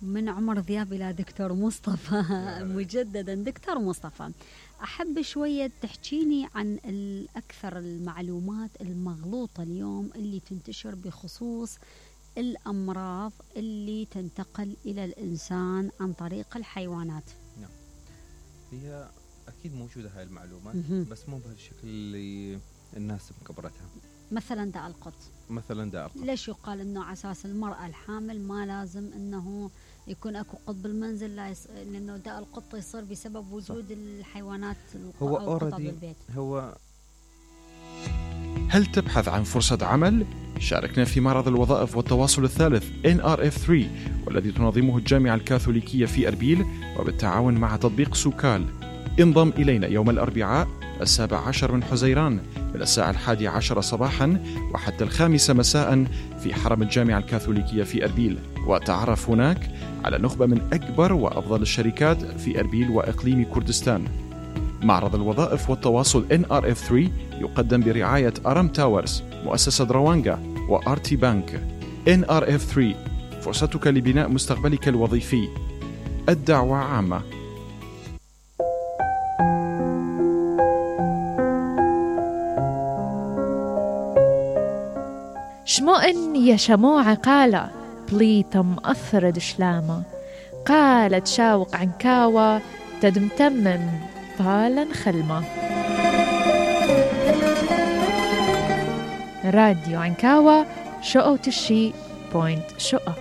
من عمر ذياب إلى دكتور مصطفى. مجددا دكتور مصطفى، أحب شوية تحكيني عن الأكثر المعلومات المغلوطة اليوم اللي تنتشر بخصوص الأمراض اللي تنتقل إلى الإنسان عن طريق الحيوانات. نعم، هي أكيد موجودة هاي المعلومات بس مو بهالشكل اللي الناس مكبرتها. مثلا داء القط. ليش يقال انه على اساس المرأة الحامل ما لازم انه يكون اكو قط بالمنزل، لانه داء القط يصير بسبب وجود صح. الحيوانات هو القطط بالبيت. هل تبحث عن فرصة عمل؟ شاركنا في معرض الوظائف والتواصل الثالث NRF3 والذي تنظمه الجامعة الكاثوليكية في أربيل وبالتعاون مع تطبيق سوكال. انضم إلينا يوم الأربعاء 17 من حزيران من الساعة 11 صباحا وحتى 5 مساء في حرم الجامعة الكاثوليكية في أربيل، وتعرف هناك على نخبة من أكبر وأفضل الشركات في أربيل وإقليم كردستان. معرض الوظائف والتواصل NRF3 يقدم برعاية أرم تاورز، مؤسسة روانجا وآرتي بانك. NRF3، فرصتك لبناء مستقبلك الوظيفي. الدعوة عامة. شمؤن يا شموع قالة بليتم مؤثر دشلامة، قالت شاوق عنكاوة تدمتمم طالا خلمة. راديو عنكاوة شقوت الشي بوينت شقة.